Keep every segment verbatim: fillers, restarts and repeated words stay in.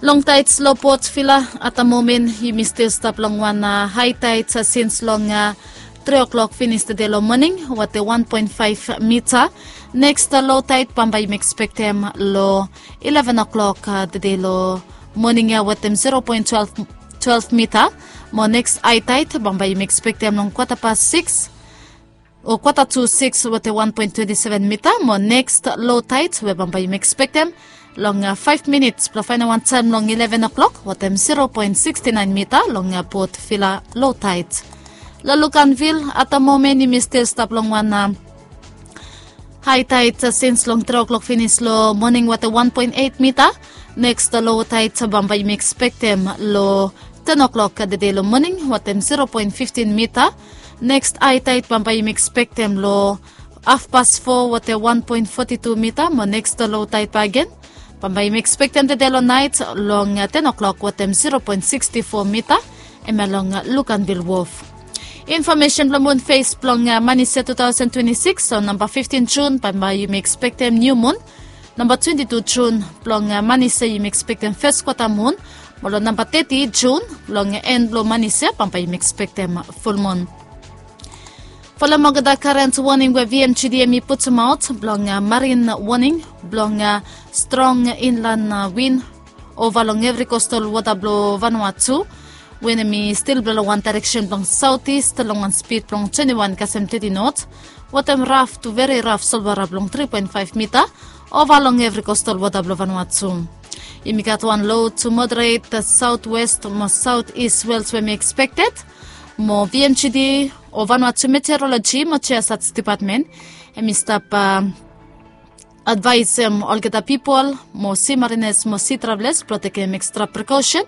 Long taets long Port Vila, at the moment yumi stil stap long wan high taets sins long tri o'clock finis tede long moning, wate wan poen faef mita. Neks low taet bambae yumi ekspektem long eleven o'clock tede long moning ya, watem zero poen twelve mita. Mo neks high taet bambae yumi ekspektem long kwata pas sikis o kwata tu sikis, wate wan poen twenti seven mita. Mo neks low taet we bambae yumi ekspektem long faef minits blong faenem wan taem long eleven o'clock, watem zero poen siksti naen mita long Port Vila low taet. Long Luganville, at the moment yumi stil stap long wan high taet sins long tri o'clock finis long moning, wate wan poen eit mita. Neks low taet bambae yumi ekspektem long ten o'clock tede long moning, watem zero poen fiftin mita. Neks high taet bambae yumi ekspektem long hafpas fo, wate wan poen foti tu mita. Mo neks low taet bakegen bambae yumi ekspektem tede long naet long ten o'clock, watem zero poen siksti fo mita. Hemia long Luganville Wharf. Infomesen blong mun fes blong manis ya tu taosen twenti sikis, so namba fiftin Jun bambae yumi ekspektem niu mun. Namba twenti tu Jun blong manis ya yumi ekspektem fes kwata mun. Mo long namba teti Jun, long en blong manis ya bambae yumi ekspektem ful mun. Folem olgeta karen woning we VMGD hemi putumaot blong marin woning blong strong inlan win ova long evri kostal wota blong Vanuatu, we hemi stil blo long wan daereksen blong saotis long wan spid blong twenti wan kasem teti not, watem raf tu veri raf solwara blong tri poen faef mita ova long evri kostal wota blong Vanuatu. Yumi gat wan low tu moderet saotwes mo saotis wels we hemi ekspekted. Mo VMGD o Vanuatu Meteoroloji mo Geosat Dipatmen hemi stap advaesem olgeta pipol mo si marinas mo si travelas blong tekem ekstra prekosen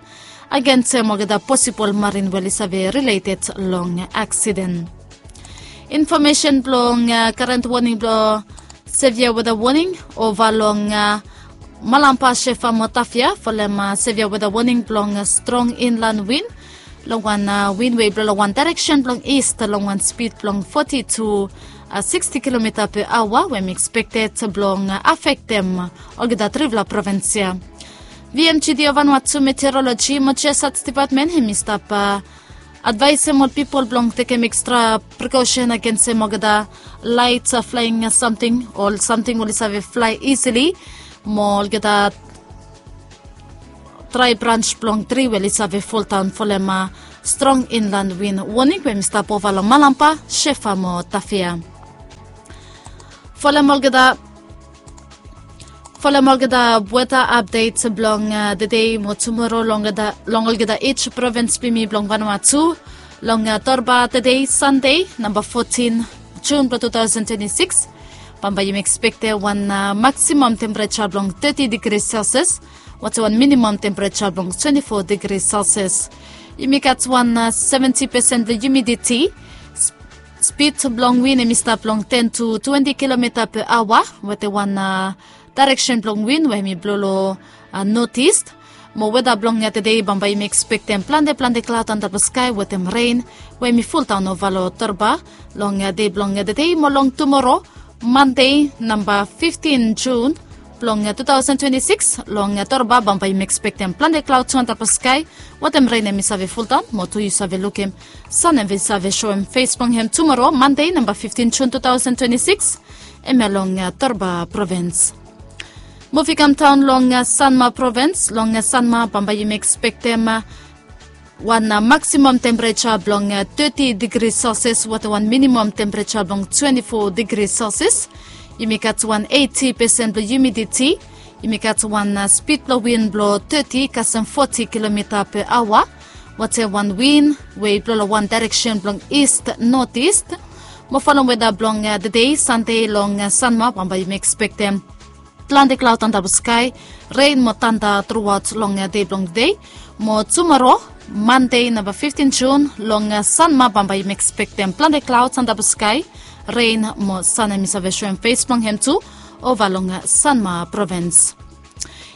agensem olgeta posibol marin we oli save rileted long aksiden. Infomesen blong karen woning blong sevia weta woning ova long Malampa, Shefa mo Tafia. Folem sevia weta woning blong strong inlan win long wan win we i blo long wan daereksen blong ist long wan spid blong foti tu siksti kilomita pe aoa, we hemi ekspekted blong afektem olgeta trifala provins ya. VMGD o Vanuatu Meteoroloji mo Geosat Dipatmen hemi stap advaesem ol pipol blong tekem ekstra prekosen agensem olgeta laet flaeng samting, ol samting we oli save flae isili, mo olgeta drae brans blong tri we oli save foldaon folem strong inlan win woning we hemi stap ova long Malampa, Shefa mo Tafia. Folem olgeta folem olgeta weta apdet blong tede mo tumoro long olgeta ij provins blong yumi blong Vanuatu. Long Torba tede Sande, namba fotin Jun blong tu taosen twenti sikis, bambae yumi ekspektem wan maksimam tempereja blong teti digri Celsius, watem wan minimam tempereja blong twenti fo digri Celsius. Yumi gat wan seventi pesen blong humiditi. Spid blong win hemi stap long ten tu twenti kilomita pe aoa, watem wan daereksen blong win we hemi blo long notist. Mo weta blong tede bambae yumi ekspektem plante plante klaod antap long skae watem ren we hemi foldaon ova long Torba long dei blong tede mo long tumoro, Mande, namba fiftin Jun blong tu taosen twenti sikis. Long Torba bambae yumi ekspektem plante klaod tu antap long skae watem ren hemi save foldaon, mo tu yu save lukim san hemi save soem fes blong hem tumoro, Mande, namba fiftin Jun tu taosen twenti sikis, hemia long Torba provins. Muv i kam daon long Sanma provins. Long Sanma bambae yumi ekspektem wan maksimam tempereja blong teti digri Celsius watem wan minimam tempereja blong twenti fo digri Celsius. Yumi gat wan eiti pesen blong humiditi. Yumi gat wan spid blong win blong teti kasem foti kilomita pe aoa, watem wan win we i blo long wan daereksen blong ist notist. Mo folem weta blong tede Sande long Sanma, bambae yumi ekspektem plante klaod antap long skae, ren mo tanda truaot long dei blong tede. Mo tumoro, Mande, namba fiftin Jun, long Sanma bambae yumi ekspektem plante klaod antap long skae, ren mo san hemi save soem fes blong hem tu ova long Sanma provins.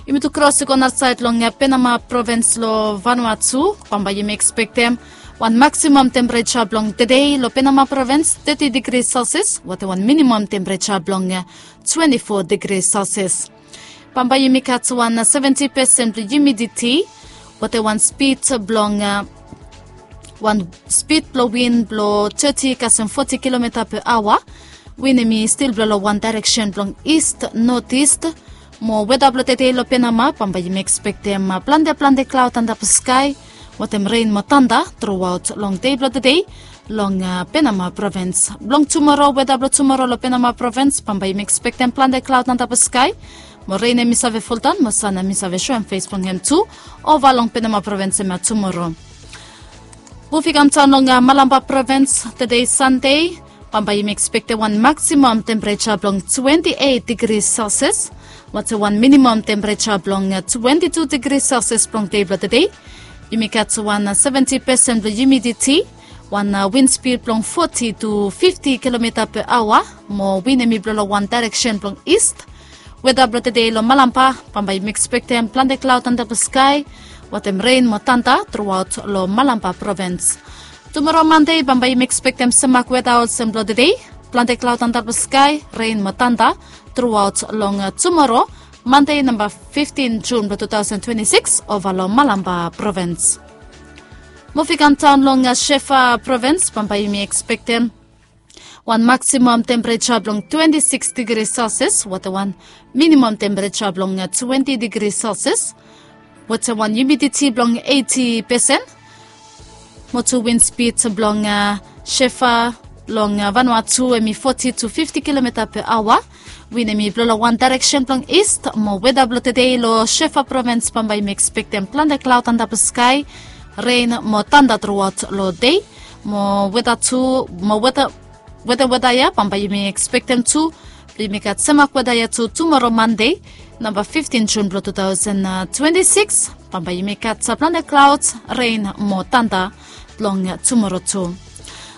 Yumi tu kros i go narasaed long Penama provins long Vanuatu, bambae yumi ekspektem wan maksimam tempereja blong tede long Penama provins teti digri Celsius watem wan minimam tempereja blong twenti fo digri Celsius. Bambae yumi gat wan seventi pesen blong humiditi, wetem wan spid blong wan spid blong win blong teti kasem foti kilomita pe aoa. Win hemi stil blo long wan daereksen blong ist notis. Mo weda blong tede long Penama, bambae yumi ekspektem plante plante klaod antap skae wetem ren mo tanda truaot long dei blong tede long Penama provins. Blong tumoro, weda blong tumoro long Penama provins, bambae yumi ekspektem plante klaod antap skae mo ren hemi save foldaon mo san hemi save soem fes blong hem tu ova long Penama provins hemia tumoro. Muvi kam daon long Malampa provins, tede Sande, bambae yumi ekspektem wan maksimam tempereja blong twenti eit digri Celsius wetem wan minimam tempereja blong twenti tu digri Celsius blong dei blong tede. Yumi gat wan seventi pesen blong humiditi, wan win spid blong foti tu fifti kilomita pe aoa, mo win hemi blo long wan daereksen blong ist. Weda blong tede long Malampa, bambae yumi ekspektem plante klaod antap skae wetem ren mo tanda truaot long Malampa provins. Tumoro Mande, bambae yumi ekspektem semak weda olsem blong tede, plante klaod antap skae, ren mo tanda truaot long tumoro Mande namba fiftin Jun blong tu taosen twenti sikis ova long Malampa provins. Muvi kam daon long Shefa provins, bambae yumi ekspektem wan maksimam tempereja blong twenti sikis digri Celsius wetem wan minimam tempereja blong twenti digri Celsius wetem wan humiditi blong eiti pesen. Mo tu win spid blong Shefa long Vanuatu hemi foti tu fifti kilomita pe aoa. Win hemi blo long wan daereksen blong ist. Mo weda blong tede long Shefa provins, bambae yumi ekspektem plante klaod antap skae, ren mo tanda truaot long dei. Mo weda tu, mo weda, weda weda ya bambae yumi ekspektem tu blong yumi gat semak weda ya tu tumoro Mande namba fiftin Jun blong tu taosen twenti sikis, bambae yumi gat plante klaod, ren mo tanda long tumoro tu.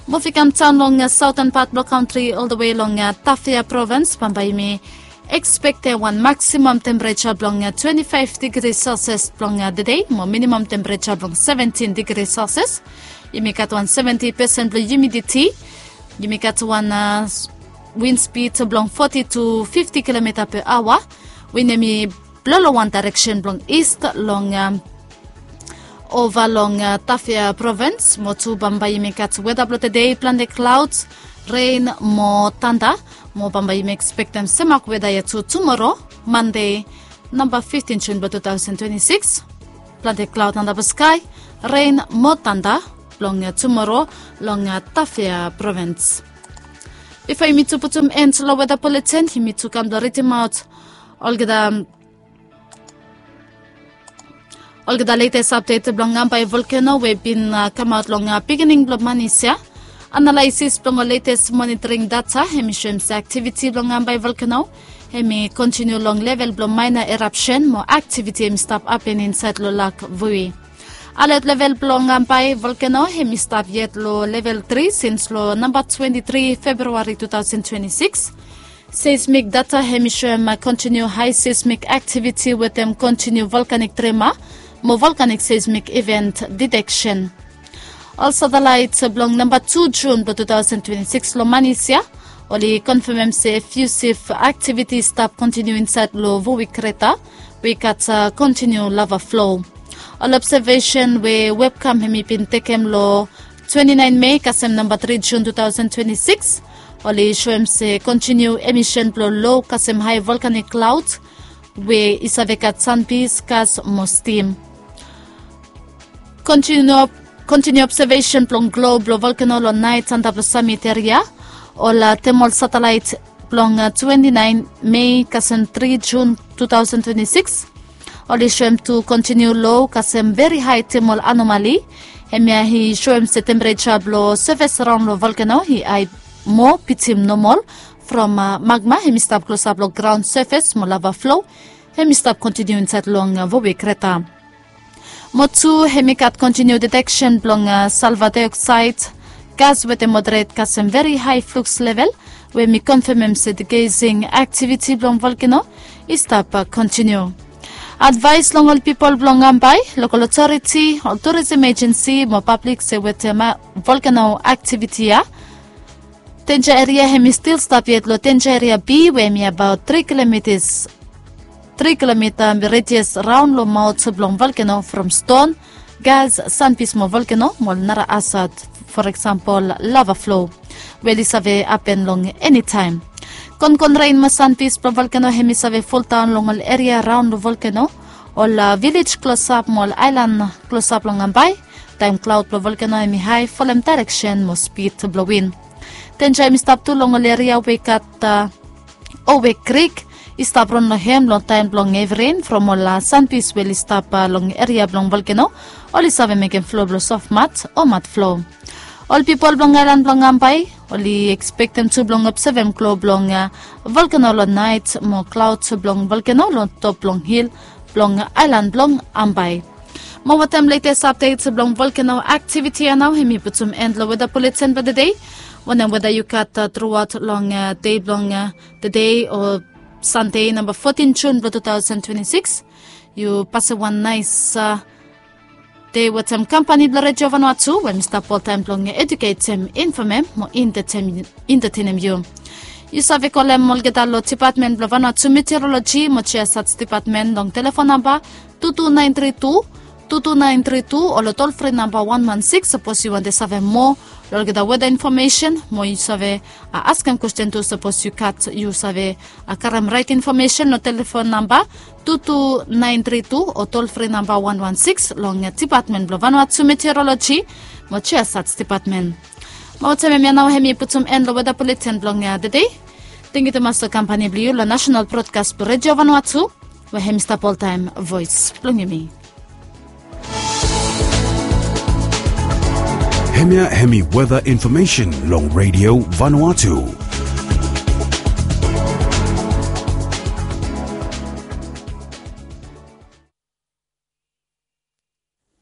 Muvi kam daon long saoten pat blong kantri oldewe long Tafea provins, bambae yumi ekspektem wan maksimam tempereja blong twenti faef digri Celsius blong tede mo minimam tempereja blong seventin digri Celsius. Yumi gat wan seventi pesen blong humiditi. Yumi gat wan win spid blong foti tu fifti kilomita pe aoa. Win hemi blo long wan daereksen blong ist long ova long Tafea provins. Mo tu bambae yumi gat weda blong tede plante klaod, ren mo tanda. Mo bambae yumi ekspektem semak weda ya tu tumoro Mande namba fiftin Jun blong tu taosen twenti sikis. Plante klaod antap skae, ren mo tanda blong tumoro long Tafea provins. Bifo yumi tu putum en long weda buletin, yumi tu kam blong ridimaot olgeta olgeta letes apdet blong Ambae volkeno we bin kamaot long pikinini blong manis ya. Analaesis blong ol letes monitoring data hemi soem se aktiviti blong Ambae volkeno hemi kontiniu long level blong maena erapsen mo aktiviti hemi stap hapen insaed long lak vui. Alet level blong Ambae volkeno hemi stap yet long level tri sins long namba twenti tri Februari tu taosen twenti sikis. Seismik data hemi soem kontiniu hae seismik aktiviti wetem kontiniu volkanik trema mo volkanik seismik iven diteksen. Ol satelaet blong namba tu Jun blong tu taosen twenti sikis long manis ya oli konfemem se fiusif aktiviti i stap kontiniu insaed long Vui kreta we i gat kontiniu lava flo. Ol obsevesen we webkam hemi bin tekem long twenti naen Mei kasem namba tri Jun tu taosen twenti sikis oli soem se kontiniu emisen blong lo kasem hae volkanik klaod we i save gat sanpis, gas mo stim. Kontiniu obsevesen blong glo blong volkeno long naet antap long samit eria. Ol temol satelaet blong twenti naen Mei kasem tri Jun tu taosen twenti sikis oli soem tu kontiniu lo kasem veri hae temol anomali. Hemia i soem se tempereja blong sefes raon long volkeno i hae moa bitim nomol from magma hemi stap klosap long graon sefes mo lava flo hemi stap kontiniu insaed long Vui kreta. Mo tu hemi gat kontiniu diteksen blong salva daeoksaed, gas wetem moderet kasem veri hae fluks level we hemi konfemem se digesing aktiviti blong volkeno i stap kontiniu. Advaes long ol pipol blong Ambae, lokol otoriti, ol turisem ejensi mo pablik se wetem volkeno aktiviti ya, denja eria hemi stil stap yet long denja eria B we hemi abaot tri kilomitas, tri kilomita redias raon long maot blong volkeno from ston, gas, sanpis mo volkeno mo ol nara asat, for eksempel lava flo, we oli save hapen long enitaem. Konkon ren mo sanpis blong volkeno hem i save foldaon long ol eria raon long volkeno, ol vilej klosap mo ol aelan klosap long ambae. Taem klaod blong volkeno hem i hae folem daereksen mo spid blong win. Denja hem i stap tu long ol eria we i gat owe krik i stap ron long hem long taem blong hevi ren from ol sanpis we oli stap long eria blong volkeno, oli save mekem flo blong sof mat o mat flo. Ol pipol blong aelan blong ambae oli ekspektem tu blong obsevem klo blong volkeno long naet mo klaod blong volkeno long top blong hil blong aelan blong ambae. Mo wetem letes apdet blong volkeno aktiviti ya nao hem i putum en long weda buletin blong tede. Wanem weda yu gat truaot long dei blong tede o sande namba fotin jun blong tu taosen twenti sikis, yu pasem wan naes dei wetem kampani blong redio vanua tu we mi stap oltaem blong eduketem, infomem mo entetenem yu. Yu save kolem olgeta long dipatmen blong vanua tu meteoroloji mo jiasats dipatmen long telefon namba tu tu naen tri tu tu tu naen tri tu o long tolfri namba wan wan sikis sapos yu wantem save moa long olgeta weda infomesen mo yu save askem kwesten tu sapos yu gat yu save karem raet infomesen long telefon namba tu tu naen tri tu o tolfri namba wan wan sikis long dipatmen blong vanua tu meteoroloji mo jiasats dipatmen. Mo taem ya nao hem i putum en long weda buletin blong tede. Tengiu tumas long kampani blong yu long nasenal brodkas blong redio vanua tu we hem i stap oltaem voes blong yumi. Hemia hem i weda infomesen long redio vanua tu.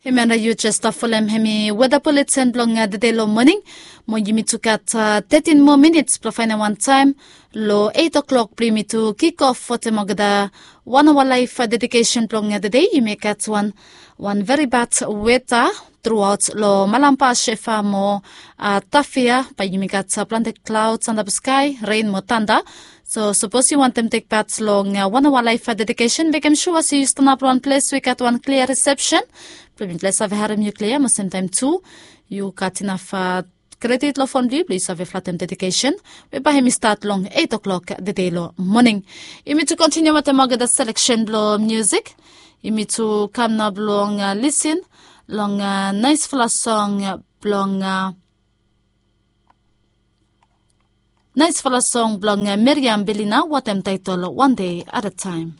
Hemia na yu jes stap folem hem i weda buletin blong tede long moning. Mo yumi tu gat tetin moa minits blong faenem wan taem long eit oklok blong yumi tu kikof wetem olgeta wan aoa laef dedikesen blong tede. Yumi gat wan wan veri bad weta truaot long malamba shefa mo tafia bae yumi gat plante klaods antap skae ren mo tanda. So sapos yu wantem tek pat long wan aoa laef dedikesen mekem sua se yu stanap long wan ples we i gat wan klia risepsen blong mipela i save harem yu klia mo semtaem tu yu gat inaf kredit long fon blong yu blong yu save flatem dedikesen we bae hem i stat long eit oklok tede long moning. Yumi tu kontiniu wetem olgeta seleksen blong musik. Yumi tu kam nao blong lisin long naesfala song blong naesfala song blong meriam belina wetem taetol wan dei at a taem.